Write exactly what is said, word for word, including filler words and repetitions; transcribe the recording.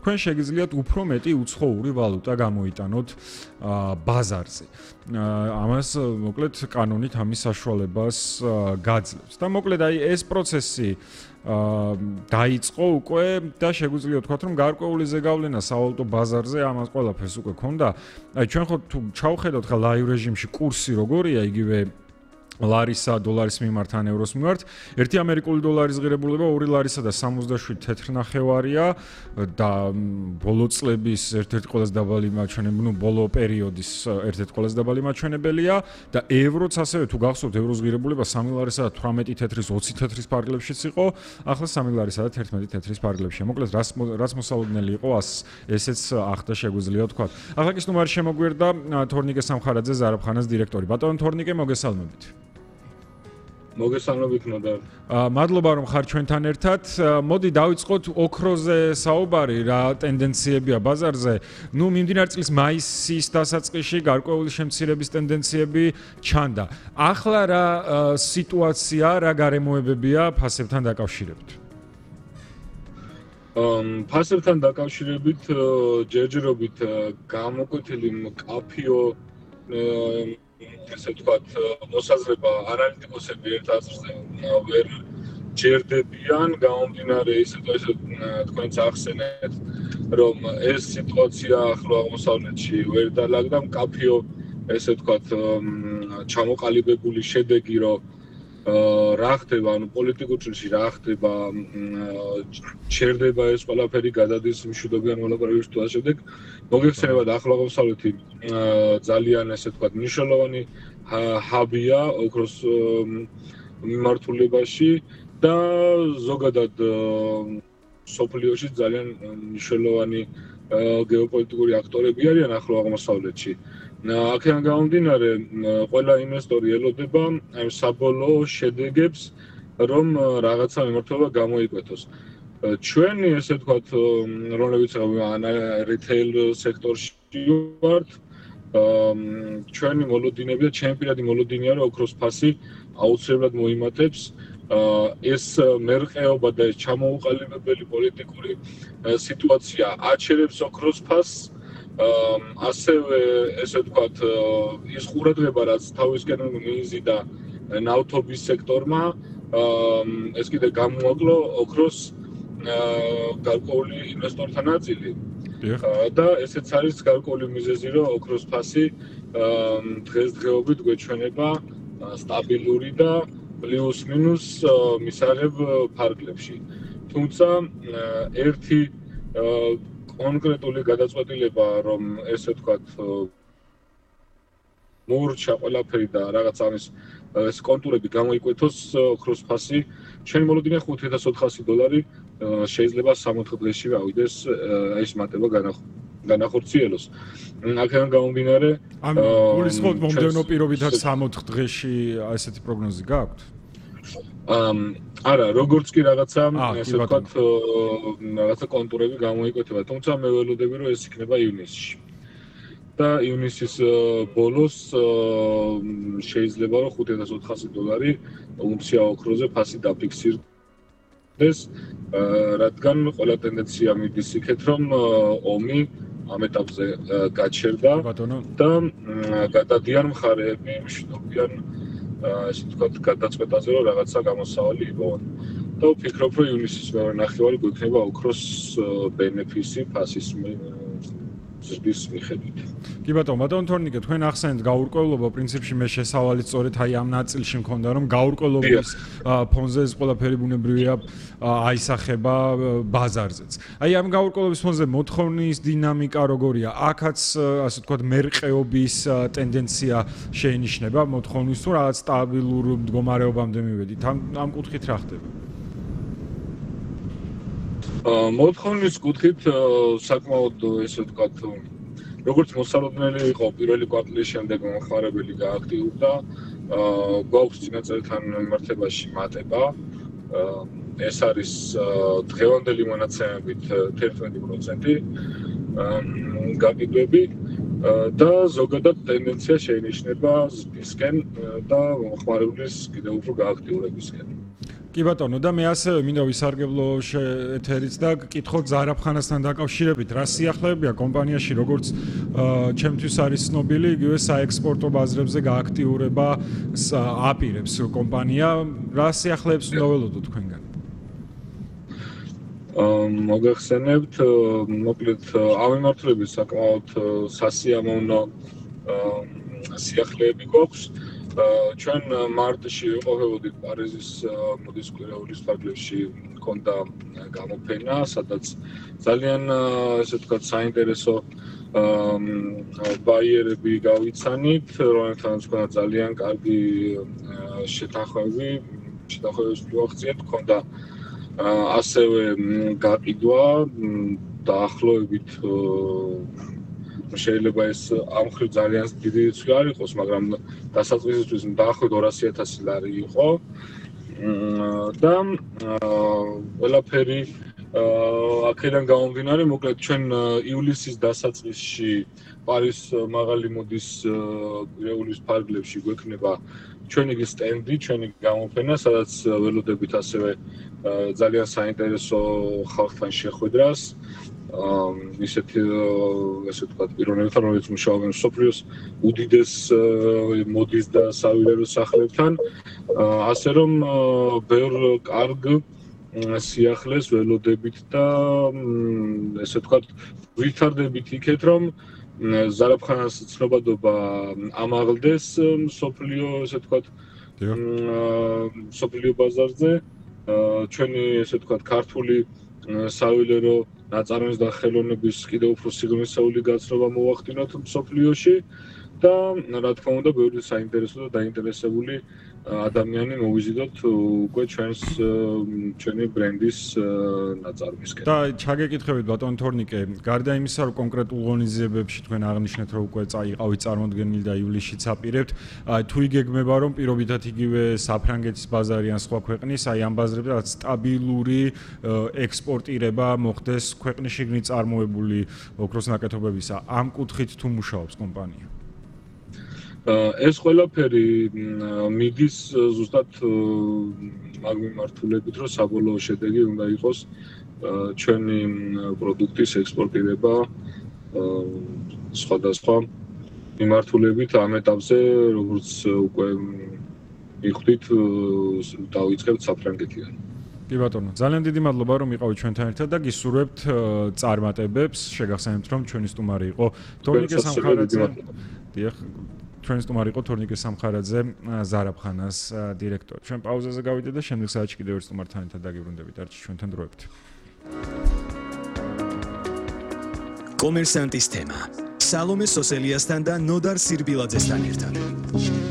თქვენ შეგიძლიათ უფრო მეტი უცხოური ვალუტა გამოიტანოთ ბაზარზე. ამას მოკლედ კანონით ამის საშუალებას გაძლევს. და მოკლედ აი ეს პროცესი დაიწყო უკვე და შეგვიძლია ვთქვათ, რომ გარკვეული ზეგავლენა სავალუტო ბაზარზე ამას ყველაფერს უკვე ქონდა. აი ჩვენ ხო თუ ჩავხედოთ ხა ლაივ რეჟიმში კურსი როგორია, იგივე ლარისა დოლარის მიმართ ან ევროს მიმართ, ერთი ამერიკული დოლარის ღირებულება ორი ლარისა და სამოცდაშვიდი თეთრნახევარია და ბოლო წლების ერთ-ერთი ყველაზე დაბალი მაჩვენებელი, ნუ ბოლო პერიოდის ერთ-ერთი ყველაზე დაბალი მაჩვენებელია და ევროც ასევე თუ გახსოვთ ევროს ღირებულება სამი ლარისა და თვრამეტი თეთრის ოცი თეთრის პარგლებშიც იყო, ახლა სამი ლარისა და თერთმეტი თეთრის პარგლებშია. მოკლედ რაც რაც მოსალოდნელი იყო, ესეც ახლა შეგვიძლია ვთქვათ. ახლა კი სტუმარი შემოგვერდა თორნიკე სამხარაძე ზარაფხანას დირექტორი. ბატონო თორნიკე, მოგესალმებით. მოგესალმებით ნოდარ. მადლობა რომ ხარ ჩვენთან ერთად. მოდი დავიწყოთ ოქროზე საუბარი, რა ტენდენციებია ბაზარზე. ნუ მიმდინარე წლის მაისის დასაწყისში გარკვეული შემცირების ტენდენციები ჩანდა. ახლა რა სიტუაცია, რა გარემოებებია ფასებთან დაკავშირებით? ფასებთან დაკავშირებით ჯერჯერობით გამოკვეთილი მკაფიო ესე ვთქვათ, მოსაზრება ანალიტიკოსები ერთ აზრზე ვერ ჯერდებიან, გამომდინარე ისე თუ ესე თქვენც ახსენეთ, რომ ეს სიტუაცია ახლო აღმოსავლეთში ვერ დაალაგდა მკაფიო, ესე ვთქვათ, ჩამოყალიბებული შედეგი, რომ რა ხდება, ანუ პოლიტიკურ ჭრილში რა ხდება, ჩერდება ეს ყველაფერი გადადის მშვიდობიან მოლაპარაკებებში თუ ასე შემდეგ. მოგეხსენებათ ახლო აღმოსავლეთი ძალიან ესე ვთქვათ მნიშვნელოვანი ჰაბია ოქროს მიმართულებაში და ზოგადად სოფლიოში ძალიან მნიშვნელოვანი გეოპოლიტიკური აქტორები არიან ახლო აღმოსავლეთში. აქედან გამომდინარე, ყველა ინვესტორი ელოდება ამ საბოლოო შედეგებს, რომ რაღაცა მიმართულება გამოიკვეთოს. ჩვენი ესე ვთქვათ, რომლებიც რიტეილ სექტორში ვართ, ჩვენი მოლოდინები და ჩემი პირადი მოლოდინია, რომ ოქროს ფასი აუცილებლად მოიმატებს. ეს მერყეობა და ეს ჩამოუყალიბებელი პოლიტიკური სიტუაცია აჩერებს ოქროს ფასს. ასევე ესე ვთქვათ, ის ყურადღება, რაც თავისკენ მიიზიდა ნავთობის სექტორმა, ეს კიდე გამოაკლო ოქროს გარკვეული ინვესტორთა ნაწილი. და ესეც არის გარკვეული მიზეზი, რომ ოქროს ფასი დღესდღეობით გვეჩვენება სტაბილური და პლუს მინუს მისაღებ ფარგლებში. თუმცა ერთი კონკრეტული გადაწყვეტილება, რომ ესე ვთქვათ, მოურჩა ყველაფერი და რაღაც ამის ეს კონტურები გამოიკვეთოს, ოქროს ფასი ჩვენი მოლოდინია ხუთი ათას ოთხასი დოლარი შეიძლება სამოთხ დღეში ავიდეს ეს მატება განახორციელოს. აქედან გამომდინარე, ანუ გულისხმობთ მომდევნო პირობითაც სამოთხ დღეში ესეთი პროგნოზი გაქვთ? არა, როგორც კი რაღაცა ესე ვთქვათ, რაღაცა კონტურები გამოიკვეთება, თუმცა მე ველოდები, რომ ეს იქნება ივნისში. და ივნისის ბოლოს შეიძლება რომ ხუთი ათას ოთხასი დოლარი უნცია ოქროზე ფასი დაფიქსირდეს, რადგან ყველა ტენდენცია მიდის იქეთ, რომ ომი ამ ეტაპზე გაჩერდა და გადადიან მხარეები მშვიდობიან ასე ვთქვათ, გადაწყვეტაზე, რომ რაღაცა გამოსავალი იპოვონ. და ვფიქრობ, რომ ივნისის მეორე ნახევარი გვექნება ოქროს ბენეფისი ფასის ზრდის მიხედვით. კი ბატონო, ბატონო თორნიკე, თქვენ ახსენეთ გაურკვევლობა, პრინციპში მე შესავალი სწორედ აი ამ ნაწილში მქონდა, რომ გაურკვევლობის ფონზე ეს ყველაფერი ბუნებრივია აისახება ბაზარზეც. აი ამ გაურკვევლობის ფონზე მოთხოვნის დინამიკა როგორია? აქაც ასე ვთქვათ, მერყეობის ტენდენცია შეინიშნება მოთხოვნის თუ რაღაც სტაბილურ მდგომარეობამდე მივედით? ამ ამ კუთხით რა ხდება? მოთხოვნის კუთხით საკმაოდ ესე ვთქვათ, როგორც მოსალოდნელი იყო პირველი კვარტალის შემდეგ მომხმარებელი გააქტიურდა, გვაქვს წინა წელთან მიმართებაში მატება. ეს არის დღევანდელი მონაცემებით თერთმეტი პროცენტი გაყიდვები და ზოგადად ტენდენცია შეინიშნება ზრდისკენ და მომხმარებლის კიდევ უფრო გააქტიურებისკენ. კი ბატონო და მე ასევე მინდა ვისარგებლო ეთერից და გკითხოთ ზარაფხანასთან დაკავშირებით რა სიახლეებია კომპანიაში როგორც ჩემთვის არის ცნობილი იგივე საექსპორტო ბაზრებზე გააქტიურება აპირებს კომპანია რა სიახლეებს უნდა ველოდოთ თქვენგან მოგახსენებთ მოკლედ ამემართლების საკმაოდ სასიამოვნო სიახლეები გვაქვს ჩვენ მარტში ვიყოფებოდით პარიზის მოდის კვირაულის ფარგლებში მქონდა გამოფენა სადაც ძალიან ესე ვთქვათ საინტერესო ბაიერები გავიცანით რომელთანაც მქონდა ძალიან კარგი შეთანხმები შეთანხმებებს მივახციეთ მქონდა ასევე გაყიდვა დაახლოებით შეიძლება ეს ამ ხრივ ძალიან დიდი რიცხვი არ იყოს, მაგრამ დასაწყისისთვის დაახლოებით ორასი ათასი ლარი იყო და ყველაფერი აქედან გამომდინარე, მოკლედ ჩვენ ივლისის დასაწყისში პარის მაღალი მოდის კვირაულის ფარგლებში გვექნება ჩვენი სტენდი, ჩვენი გამოფენა, სადაც ველოდებით ასევე ძალიან საინტერესო ხალხთან შეხვედრას ისეთი ესე ვთქვათ პიროვნებებთან, რომელიც მუშაობენ სოფლიოს უდიდეს მოდის და სავილერო სახლებთან, ასე რომ ბევრ კარგ სიახლეს ველოდებით და ესე ვთქვათ ვითარდებით იქეთ, რომ ზარაფხანას ცნობადობა ამაღლდეს სოფლიო ესე ვთქვათ სოფლიო ბაზარზე ჩვენი ესე ვთქვათ ქართული სავილერო ნაწარმის და ხელოვნების კიდევ უფრო სიღრმისეული გაცნობა მოვახდინოთ სოფლიოში და რა თქმა უნდა ბევრი საინტერესო და დაინტერესებული ადამიანი მოვიზიდოთ უკვე ჩვენს ჩვენი ბრენდის ნაწარმისკენ. და ჩაგეკითხებით ბატონ თორნიკე, გარდა იმისა, რომ კონკრეტულ ღონისძიებებში თქვენ აღნიშნეთ, რომ უკვე წაიყავით წარმოდგენილი და ივლისშიც აპირებთ, თუ იგეგმება, რომ პირობითად იგივე საფრანგეთის ბაზარი ან სხვა ქვეყნის, აი ამ ბაზრებზე რაც სტაბილური ექსპორტირება მოხდეს ქვეყნის შიგნით წარმოებული ოქროს ნაკეთობებისა, ამ კუთხით თუ მუშაობს კომპანია? ეს ყველაფერი მიდის ზუსტად მაგ მიმართულებით, რომ საბოლოო შედეგი უნდა იყოს ჩვენი პროდუქტის ექსპორტირება სხვადასხვა მიმართულებით ამ ეტაპზე, როგორც უკვე მიხვდით, დავიწყებთ საფრანგეთიდან. კი ბატონო, ძალიან დიდი მადლობა რომ იყავით ჩვენთან ერთად და გისურვებთ წარმატებებს. შეგახსენებთ რომ ჩვენი სტუმარი იყო თორნიკე სამხარაძე. დიახ, ჩვენი სტუმარი იყო თორნიკე სამხარაძე, ზარაფხანას დირექტორი. ჩვენ პაუზაზე გავიდეთ და შემდეგ საათში კიდევ ერთ სტუმართან ერთად დაგიბრუნდებით. არჩი ჩვენთან დროებით. კომერსანტის თემა. სალომე სოსელიასთან და ნოდარ სირბილაძესთან ერთად.